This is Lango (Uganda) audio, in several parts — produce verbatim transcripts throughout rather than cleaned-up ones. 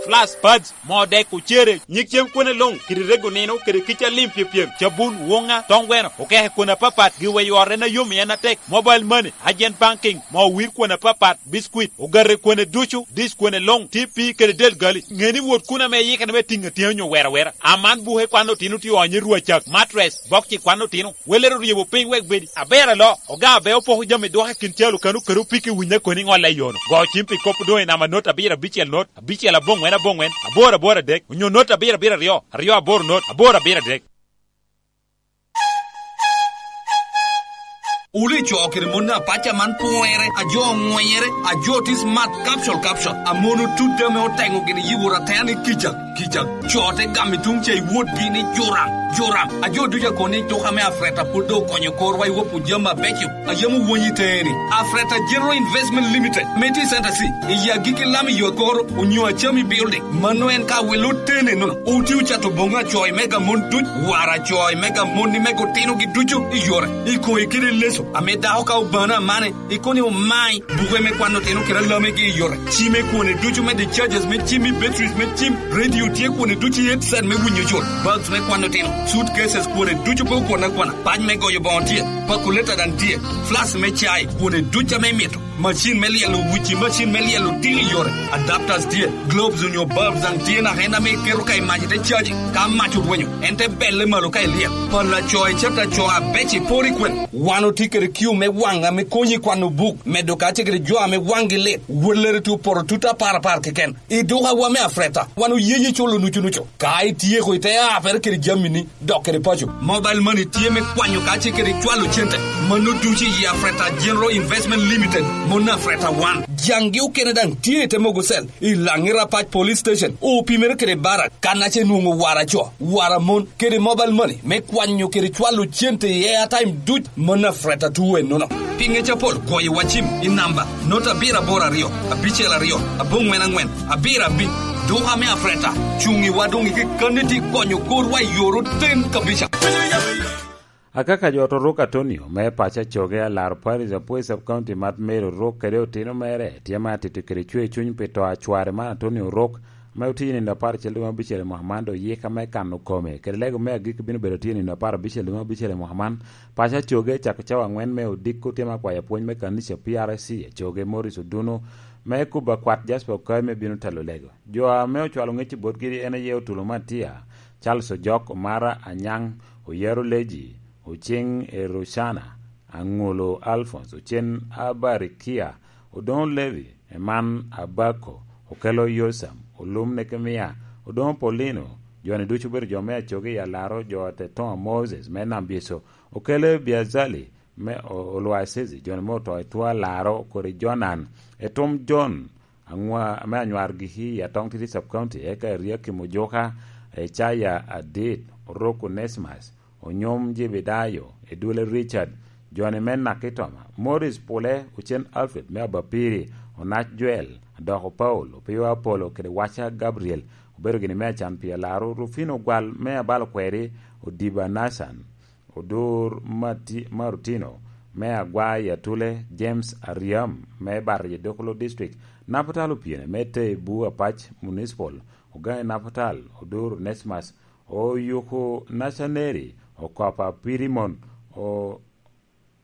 Flash, pads, moo dek, ocere, nyig cem kwene luŋ, kede rego nino, kede kica lim pyepyem, cabun, wuŋa, toŋ gweno, okeke kwene apapat, giweyo ot en ayom i en atek, mobile money, agent banking, moo wir kwene apapat, biscuit, ogate kwene ducu, dish kwene luŋ, T P kede del gali. Ŋe ni wot kun ame iyikere me tiŋ atyeni onyo wera wera. Aman buke kwan otino tye onyo i rwacak, mattress, bokci kwan otino. Welere oryebo piny wek bedi. Aber alo, oga abe opoko jami dwoko i kin calo kano kede opiki winyo koni ŋolle i yono. Go cim pi kop doŋ i namba not abiro abicel not, abicel aboŋwen aboŋwen, aboro aboro adek, onyo not abiro abiro aryo, aryo aboro not, aboro abiro adek. Wulu i co kede mon apac aman pwere, a jo oŋwenyere, a jo tye smart capsule capsule, a mon otut ame oteŋo gini yibo ratena ni kica, kica. Co te gamo i tuŋ ca i wotgi ni Joram, Joram. A jo ducu akobo ni tuka me Afreta pwod doŋ okonyo korwa i wopwu jami abeco a yam owonyo i teeni. Afreta General Investment Limited, ame tye i Center C, i agikki lam i yo akoro, onyo Acami Building. Mano en ka welo tene nono. Oti ocato boŋo acoy mega mon duc, wara acoy mega mon ni mega otinogi ducu i yore. I koyi kede leso, ame dako ka obano amane, i koni omai, buke me kwano tino kede alamegi i yore. Cime kwone ducu me the charges me cim i batteries me cim, radio tye kwone ducu i headset me winyo col, bags me kwano tino, suitcases kwone ducu pe okwana kwana, pac me goyo boŋo tye, pakuleta daŋ tye, flask me cai kwone ducu ame imito. Macin me lyelo wuci, macin me lyelo tino i yore, adapters tye, globes onyo bulbs daŋ tye naka en ame iketo ka i mac ite caji. Ka mac orwenyo, en te belle malo ka ilyel. Pala co i cata co abeco iporo i kwene. Wan otye kede kiu me waŋ ame konyi kwano buk, medo kacel kede jo ame waŋgi lit. Wellere tye opoto tut apar apar keken. I dukawa me Afreta, wan oyeyi culo nucu nucu. Ka ityeko, ite apere kede jamini, dok kede paco. Mobile money tye me kwanyo kacel kede cwalo cente. Mano ducu i Afreta General Investment Limited, mon Afreta wan. Jaŋgi okene daŋ tye i te mogo cell, i Laŋi Rapac Police Station, opimere kede barak, kan ace nwoŋo wara co, wara mon, kede mobile money, me kwanyo kede cwalo cente i airtime duc, mon Afreta two ennono. Pi ŋec apol, goyo wa cim i namba, not abiro aboro aryo, abicel aryo, aboŋwen aŋwen, abiro abic. Duka me Afreta, cuŋ i wa doŋ i kekkanni ti konyo korwa i yor oten kabica. Akaka jo Otorok Atonio me paco Acoge, alaro Paris Apwey Sub County, Mat Mary Orok kede otino mere tye ma atito kede cwer cuny pi to a cware man Atonio Orok, ame otye i nino apar acel dwe me abicel i mwaka man, dok yika me kano kome kede lego me agikki bino bedo tye i nino apar abicel dwe me abicel i mwaka man. Paco Acoge cako cawa aŋwen me odiko tye ma kwayo apwony me kanica P R C Acoge, Morris Oduno, me kuba kwat Jasper Okai me bino telo lego. Jo ame ocwalo ŋec i botgi en aye Otulo Matia, Charles Ojok, Omara Anyaŋ, Oyero Leji, Oceng Erucana, Aŋolo Alphonse, Ocen Abarikia, Odoŋo Levi, Eman Abako, Okelo Yosam, Olum Nekemia, Odoŋo Paulino. Jo-ni ducu obedo jo me Acoge i alaro jo a Tetoŋo Moses me Nam Byeco, Okelo Biazali, me O-, Olwacezi, jo-ni me oto i two alaro kodi Jonan, Etum Jon, aŋwa-, ame anywar giki i Atong Titi Sub County, eka Eriakim Ojuka, Ecaya Adit, Orok Onesimus, Onyom Jebedayo, Edwele Richard, Johnny me Nakitoma, Morris Pule, Ocen Alfred me Abapiri, Onac Joel, Adoko Paul, Opiyo Apolo, kede Waca Gabriel, obedo gini me acan pi alaro, Rufino Gwal me Abalo Kweri, Odiba Nathan, Odur Mati-, Marutino, me Agwa i Atule, James Ariam, me Bato i Dokolo District, Napatal Opiene, me Tebu Apac Municipal, Ogangi Napatal, Odur Onesmus, Oyuku Nacaneri, Okopa Pirimon, o-,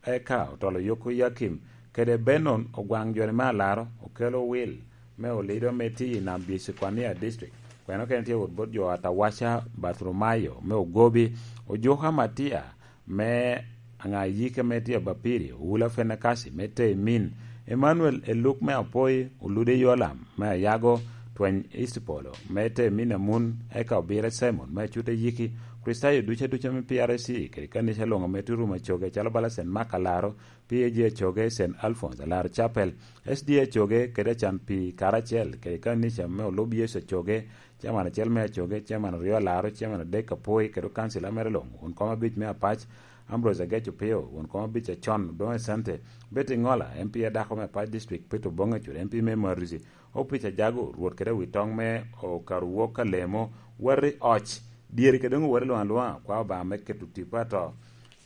eka Otolo Oyuku Yakim, kede Benon Ogwaŋ Joni me Alaro, Okelo Wil, me Olido me Ti i Nam Bicikwania District. Kweno kene tye wot bot jo Atawaca Bathromayo me Ogobi, Ojuka Matia, me Aŋayike me tye Abapiri, Owula Fenekasi me Temin, Emmanuel Eluk me Apoi, Olude Yolam me Ayago, Tweny East Polo me Temin Amun, eka Obire Simon me Acute Yiki, Kricitayo ducu aduca me P R C kede kanica luŋ ame tye rumo Acoge calo bala Saint Mark Alaro, P A G Acoge, Saint Alphonse Alaro Chapel, S D A Acoge kede acan pi karacel kede kanica me Olub Yecu Acoge, Chairman acel me Acoge, Chairman aryo Alaro, Chairman adek Apoi, kede okancila mere luŋ, won kom abic me Apac, Ambrose Agec Opio, won kom abic acon, Odoŋo Asante, Betty Ŋola, M P a dako me Apac District, Peter Oboŋ Acur, M P me Marusi, Opic Ajago, Rwot kede Awitoŋ me Okarwok Alemo, Wari Oc, dyeri kede doŋ owere luŋ aluŋa, kwa Obaŋa me keto tipo ato,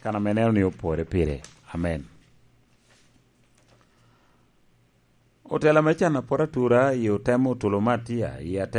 kan ame neno ni opore pire. Amen. Otela me can apot atura i otemo Otulo Matia i atek